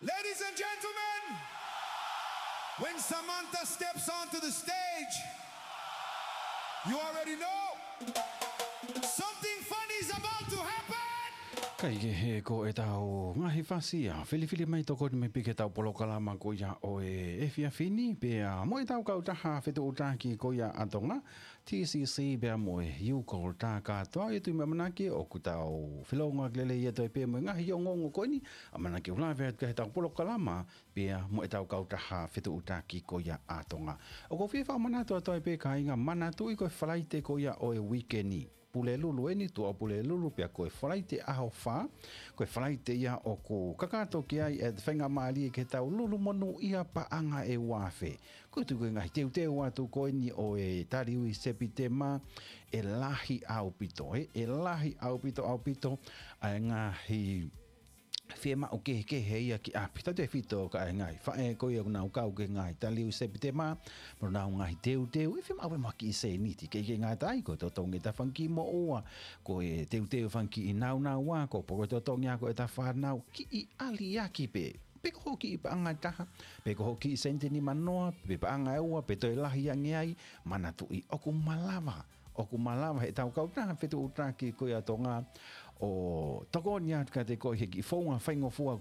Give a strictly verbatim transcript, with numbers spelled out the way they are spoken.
Ladies and gentlemen, when Samantha steps onto the stage, you already know something funny is about to happen. Kaikehe ko ʻetau ngaahi fasi ʻa e filifili mai tokoni mai pē ki heʻetau polokalama ko ia ʻo e efiafi ni, pea mo ʻetau kautaha fetuʻutaki ko ia ʻa Tonga, T C C pea mo e U Call, tā kātoa. ʻOku ou tui mo ʻamanaki ʻoku tau felōngoaki lelei atu ai pē mo e ngaahi ongoongo ko eni, ʻamanaki ʻoku lave atu ki heʻetau polokalama pea mo ʻetau kautaha fetuʻutaki ko ia ʻa Tonga. ʻOku ou fie fakamanatu atu ai pē, kāinga, manatuʻi ko e Falaite ko ia ʻo e uike ni, Pulelulu eni, Tuʻapulelulu, pea ko e Falaite ʻaho fā, ko e Falaite ia ʻoku kakato ki ai e faingamālie ke tau lulu monūʻia paʻanga ʻe uaafe. ʻOku ou tui ko e ngaahi teuteu atu ko eni ʻo e taliui Sepitema, ʻe lahi ʻaupito, ē, ʻe lahi ʻaupito, ʻaupito ʻa e ngaahi fiemaʻu kehekehe ia ki ʻapi. Tautefito ki he ngaahi faʻē ko ia ʻoku nau kau ki he ngaahi taliui Sepitema, mo ʻenau ngaahi teuteu, ʻe fiemaʻu pē mo ha kiʻi sēniti, ʻikai ke ngata ai, ko e totongi ʻeta fanga kiʻi moʻua, ko e teuteu fanga kiʻi nāunauʻia, ko e poko totongi ako ʻeta fānau, kiʻi ʻaliʻaki pē. Pe ko hoʻo kiʻi paʻanga ʻe taha, pe ko hoʻo kiʻi sēniti ʻe nima noa, pe paʻanga ʻe ua, pe toe lahi ange ai, manatuʻi ʻoku malava, ʻoku malava heʻetau kautaha fetuʻutaki ko ia ʻa Tonga ʻo tokoni atu kiate koe he kiʻi founga faingofua ko